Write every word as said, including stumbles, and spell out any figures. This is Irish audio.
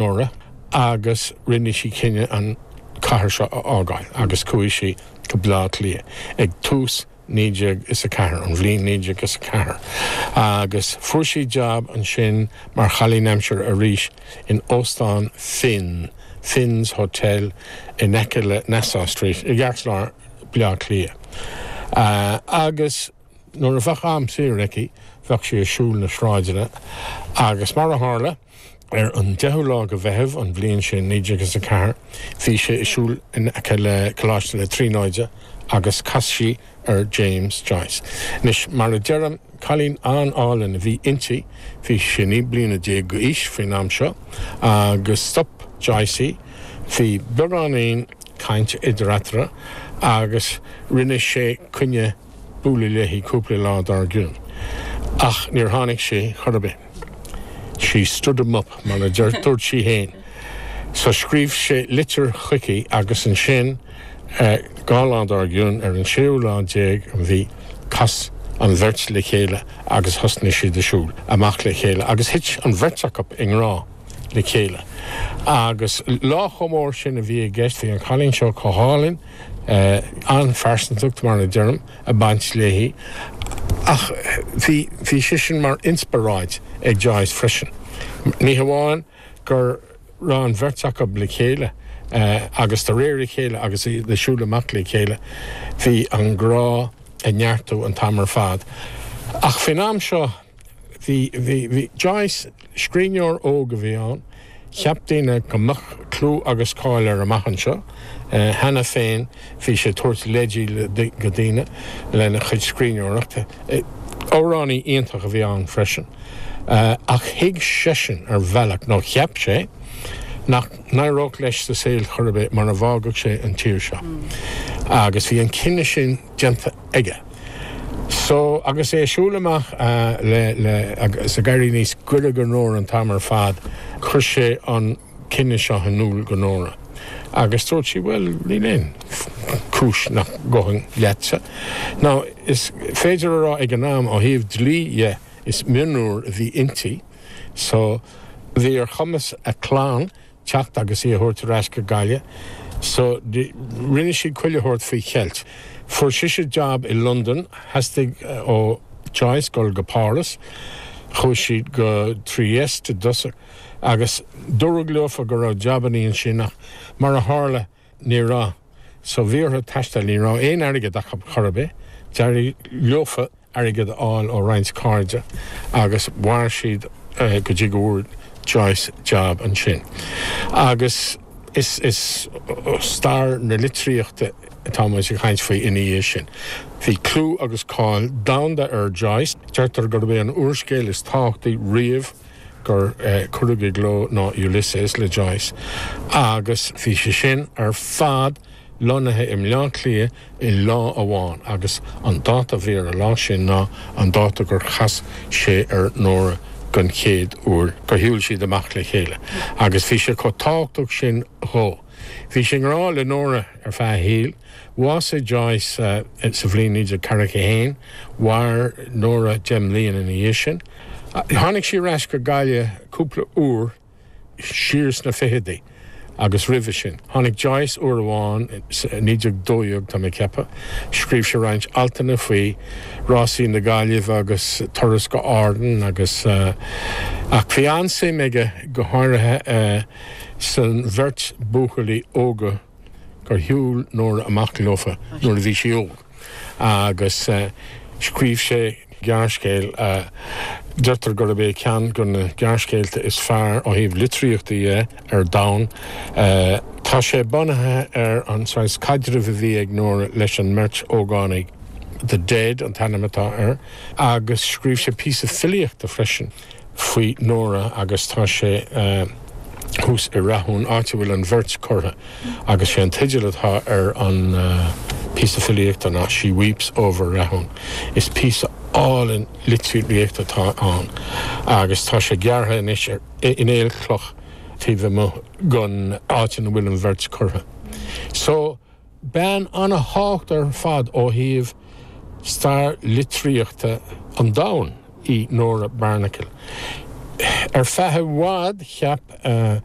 Nora agus rinne sí cinneadh an chathair seo a fhágáil agus chuaigh sí go Baile Átha Cliath ag tús naoi déag is a ceathair an bhliain naoi déag is a ceathair. Agus fuair sí job ansin mar chailín aimsire arís in Óstán Finn, Finn's Hotel in aice le Nassau Street i gceartlár Baile Átha Cliath. Uh, agus nuair a bheadh am saor aici bheadh sí ag siúl na sráideanna agus mar a tharla ar an deichiú lá de Mheitheamh an bhliain sin naoi déag is a ceathair, bhí sí ag siúl in aice le Coláiste na Tríonóide agus chas sí ar James Joyce. Anois mar a deirim cailín an-álainn a bhí inti bhí sí naoi bliana déag d'aois faoin am seo agus stop Joyce í, bhí beagáinín caint idir eatarthu agus rinne sé coinne bualadh léi cúpla lá dár gcionn. Ach níor tháinig sé chor ar bith. She stood him up mar a dúirt sí féin. So scríobh sé litir chuici agus ansin dhá lá dár gcionn ar an séú lá déag an mhí chas an bheirt le chéile agus thosnaigh siad ag siúl amach le chéile agus thit an bheirt acu i ngrá le chéile. Agus lá chomh mór sin a bhí i gceist bhí an cailín seo go hálainn an-phearsantacht mar a deirim ag baint léi ach bhí bhí sé sin mar inspioráid ag Joyce freisin. Ní hamháin gur raibh an bheirt acu le chéile agus de réir a chéile agus le siúl amach le chéile, bhí an grá ag neartú an t-am ar fad. Ach faoin am seo bhí bhí bhí Joyce scríbhneoir óg a bhí ann, cheap daoine go mbeadh clú agus cáil air amach anseo. Cheana féin bhí sé ag tabhairt leidí go daoine lena chuid scríbhneoireachta. Amhránaí iontach a bhí ann freisin. Ach thuig seisean ar bhealach nó cheap sé nach n-éireodh leis sa saol chor ar bith mar a bhfágadh sé an tír seo. Agus bhí an cinneadh sin déanta aige. So agus é ag siúl amach le le agus ag éirí níos gaire do Nóra an t-am ar fad, chuir sé an cinneadh seo in iúl do Nóra. Agus dúirt sí well níl aon chúis nach ngabhfainn leatsa. Now is féidir a rá ag an am ó thaobh dlí dhe is mionúr a bhí inti, so bhí ar chumas a clann teacht agus í a thabhairt ar ais go Gaillimh, so rinne siad chuile shórt faoi cheilt. Fuair sise job i Londain, theastaigh ó Joyce dul go Páras, chuaigh siad go Trieste i dtosach agus dúradh leofa go raibh jabannaí ansin ach mar a tharla ní raibh. So bhí orthu taisteal ní raibh aon airgead acu chor ar bith, d'éirigh leofa airgead a fháil ó roinnt cairde agus mhair siad go dtí go bhfuair Joyce job ansin. Agus is is stair na litríochta atá muid ag caint faoi ina dhiaidh sin. Bhí clú agus cáil domhanda ar Joyce, deirtear gurb é an úrscéal is tábhachtaí riamh gur cuireadh i gcló ná Ulysses le Joyce, agus bhí sé sin ar fad lonnaithe i mBleá Cliath i lá amháin agus an dáta a bhí ar an lá sin ná an dáta gur chas sé ar Nóra den chéad uair gur shiúil siad amach le chéile agus bhí sé chomh tábhachtach sin dhó. Bhí sé i ngrá le Nóra ar feadh a shaoil, Bhásaigh Joyce sa bhliain naoi déag ceathracha haon, mhair Nóra deich mbliana ina dhiaidh sin. Tháinig sí ar ais go Gaillimh cúpla uair siar sna fichidí agus roimhe sin. Tháinig Joyce uair amháin naoi déag dó dhéag tá mé ag ceapadh, scríobh sé roinnt altanna faoi rásaí na Gaillimhe agus turas go Árainn agus ach bhí an-suim aige go háirithe san bheirt buachaillí óga gur shiúil Nóra amach leofa nuair a bhí sí óg agus scríobh sé gearrscéal deirtear gurb é ceann de na gearrscéalta is fearr ó thaobh litríochta dhe ar domhan. Tá sé bunaithe ar an saghas caidrimh a bhí ag Nóra leis an mbeirt ógánaigh The Dead an t-ainm atá air, agus scríobh sé píosa filíochta freisin faoi Nóra agus tá sé thuas i Rathún áit a bhfuil an bheirt curtha agus sé an teideal atá ar an píosa filíochta ná She Weeps Over Rathún. Is píosa álainn litríochta atá ann agus tá sé gearrtha anois ar in aolchloch taobh amuigh den áit ina bhfuil an bheirt curtha. So bean an-tábhachtach ar fad ó thaobh stair litríochta an domhain í Nóra Barnacle. Ar feadh i bhfad cheap uh,